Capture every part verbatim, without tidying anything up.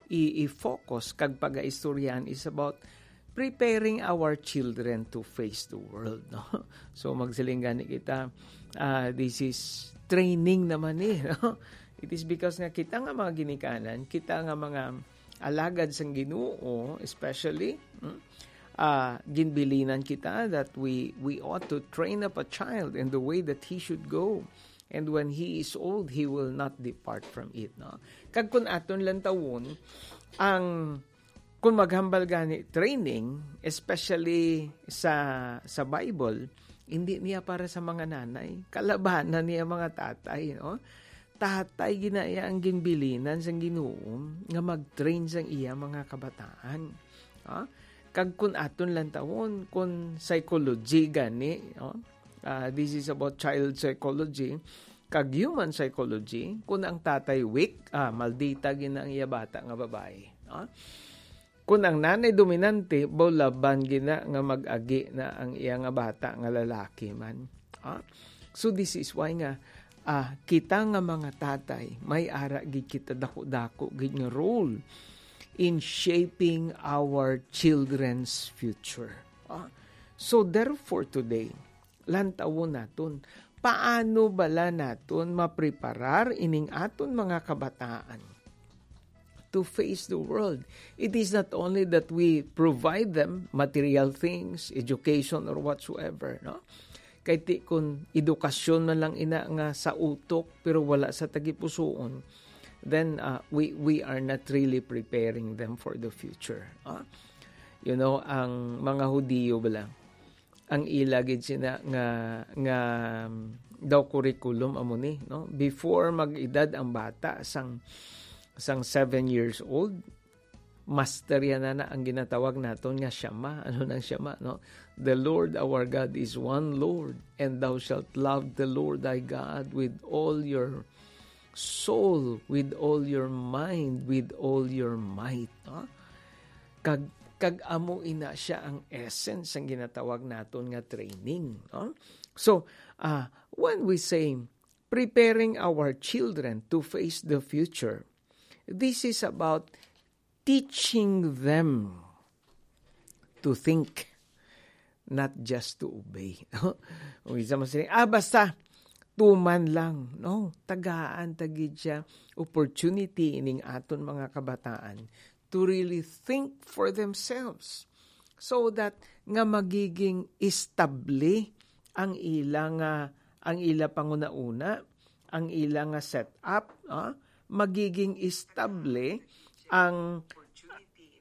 i- i-focus kag pagaistoryahan is about preparing our children to face the world, no? So, magsiling gani kita, ah, this is training naman ni, no? It is because nga kita nga mga ginikanan, kita nga mga alagad sang Ginoo, especially, mm, ah, ginbilinan kita that we, we ought to train up a child in the way that he should go. And when he is old, he will not depart from it, no? Kag kun aton lantawon, ang, kun maghambal gani training, especially sa, sa Bible, hindi niya para sa mga nanay. Kalabanan niya mga tatay, no? Tatay gina iya ang ginbilinan sang Ginoo nga mag-train sang iya mga kabataan. Ha? Kag kun aton lantawon, kun psychology gani, no? Ah, this is about child psychology. Kag human psychology, kun ang tatay weak, ah, maldita gina ang iya bata nga babayi, no? Kun ang nanay dominante, baw laban gina nga mag-agi na ang iya nga bata nga lalaki man. Ah? So this is why nga, ah, kita nga mga tatay, may ara gid kita dako-dako gid nga role in shaping our children's future. Ah? So therefore today, lantawon naton, paano bala naton mapreparar ining aton mga kabataan to face the world? It is not only that we provide them material things, education, or whatsoever, no? Kay ti kun edukasyon man lang ina nga sa utok pero wala sa tagipusoon, then, uh, we we are not really preparing them for the future. Ah? You know, ang mga Hudiyo bala, ang ila gid sina nga, nga, um, daw curriculum amo ni, no? Before mag-edad ang bata sang, sang seven years old, master yan na, na ang ginatawag naton nga Shema. Ano nang Shema, no? "The Lord our God is one Lord, and thou shalt love the Lord thy God with all your soul, with all your mind, with all your might," no? Kag, kag amo ina siya ang essence sang ginatawag naton nga training, no? So, ah, when we say preparing our children to face the future, this is about teaching them to think, not just to obey. Kung isa man sila, "Ah, basta, tuman lang." No, tagaan ta gid siya opportunity ining aton mga kabataan to really think for themselves, so that nga magiging estable ang ila nga, ang ila panguna-una, ang ila nga setup, ah, magiging estable ang,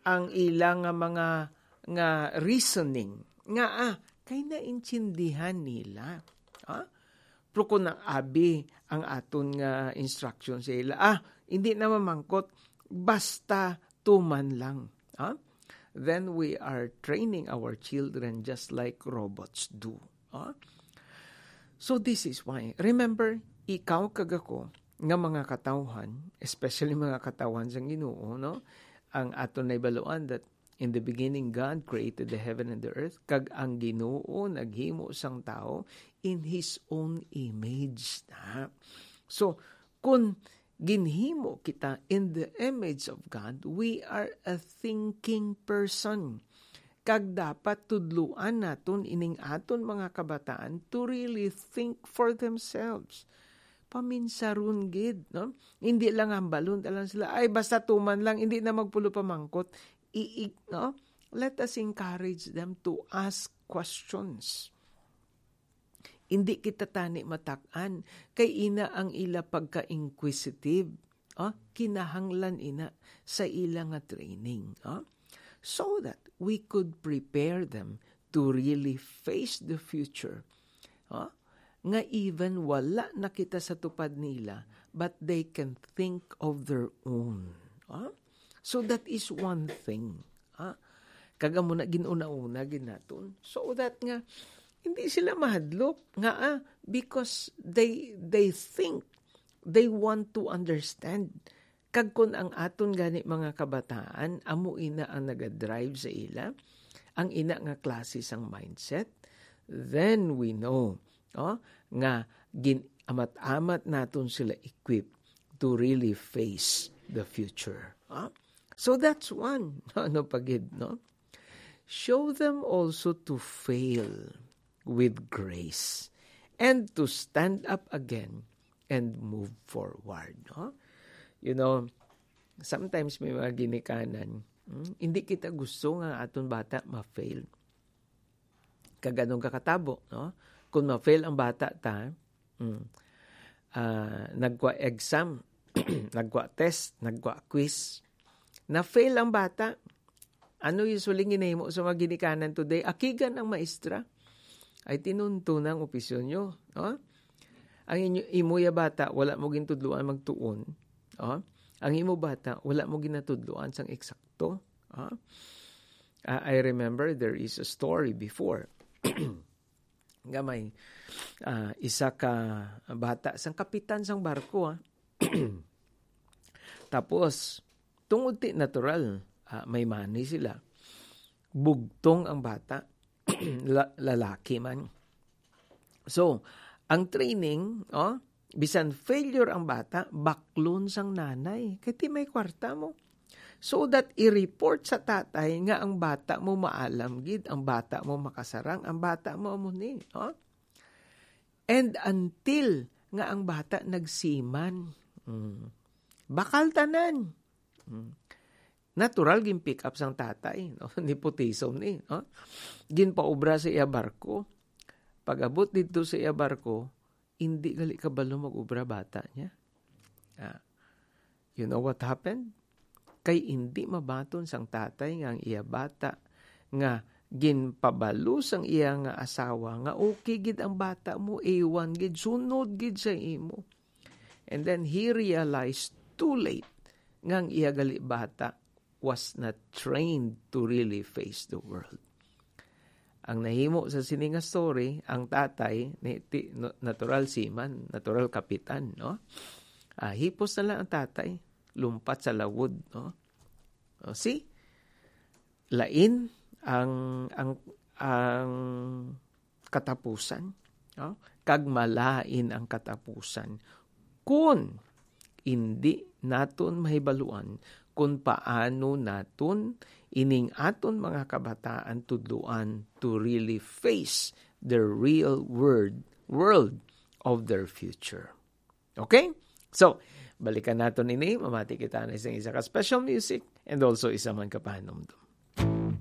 ang ila nga mga, nga reasoning nga, ah, kay naintindihan nila. Ah? Pero kung ang abi ang aton nga instruction sa ila, ah, hindi na mamangkot, basta tuman lang. Ah? Then we are training our children just like robots do. Ah? So this is why, remember, ikaw kag ako nga mga katawhan, especially mga katawhan sang Ginoo, no? Ang aton nahibaluan that in the beginning God created the heaven and the earth, kag ang Ginoo naghimo sang tawo in his own image na. So, kun ginhimo kita in the image of God, we are a thinking person. Kag dapat tudluan naton ining aton mga kabataan to really think for themselves. Paminsaron gid, no? Hindi lang hambalon ta lang sila, "Ay, basta tuman lang, hindi na magpulo pamangkot." I, i, no? Let us encourage them to ask questions. Hindi kita tani matak-an, kay ina ang ila pagka-inquisitive. Ah, kinahanglan ina sa ila nga training, ah, so that we could prepare them to really face the future, ah, nga even wala na kita sa tupad nila, but they can think of their own, ah. So that is one thing, ah. Kag amo na gin-una-una gid naton, so that nga hindi sila mahadlok nga, ah, because they, they think, they want to understand. Kag kun ang aton gani mga kabataan, amo ina ang nagadrive sa ila, ang ina nga klase sang mindset, then we know, oh, nga gin-amat-amat naton sila equipped to really face the future. Oh? So that's one. Ano pa gid, no? Show them also to fail with grace and to stand up again and move forward, no? You know, sometimes may mga ginikanan, hmm, hindi kita gusto nga aton bata ma-fail. Kag anong kakatabo, no? Kung ma-fail ang bata ta, hmm, ah, nagwa exam, nagwa test, nagwa quiz, na-fail ang bata, ano usually ginahimo sa mga ginikanan today? Akigan ang maestra. Ay, tinunto na ang opisyon nyo, no? Ang inyo, imo ya bata, wala mo gintudloan magtuon, oh? Ang imo bata, wala mo ginatudloan sang eksakto, oh? Ah, I remember there is a story before nga may, ah, isa ka bata sang kapitan sang barko, ah. Tapos, tungod ti natural, ah, may money sila. Bugtong ang bata, la-, lalaki man. So, ang training, oh, bisan failure ang bata, baklon sang nanay. Kay ti may kwarta mo. So that i-report sa tatay nga ang bata mo maalam gid, ang bata mo makasarang, ang bata mo amo ni, oh. And until nga ang bata nagsiman. Mm. Bakal tanan. Mm. Natural, gin-pick up sang tatay, no? Nepotism ni, no? Ginpaobra sa iya barko. Pag-abot didto sa iya barko, indi gali kabalo mag-obra bata niya. Ah, you know what happened? Kay indi mabaton sang tatay nga ang iya bata nga ginpabalo sang iya nga asawa nga okay gid ang bata mo, A one gid, sunod gid sa imo. And then he realized too late nga ang iya gali bata was not trained to really face the world. Ang nahimo sa sini nga story, ang tatay, ni, ti, no, natural seaman, natural kapitan, no? Ah, hipos na lang ang tatay, lumpat sa lawod, no? O, see? Lain ang, ang, ang katapusan, no? Kag malain ang katapusan kun indi naton mahibaluan kun paano naton ining aton mga kabataan tudloan to really face the real world, world of their future. Okay? So, balikan naton ini. Mamati kita na isang isa ka special music and also isa man ka pahanumdom.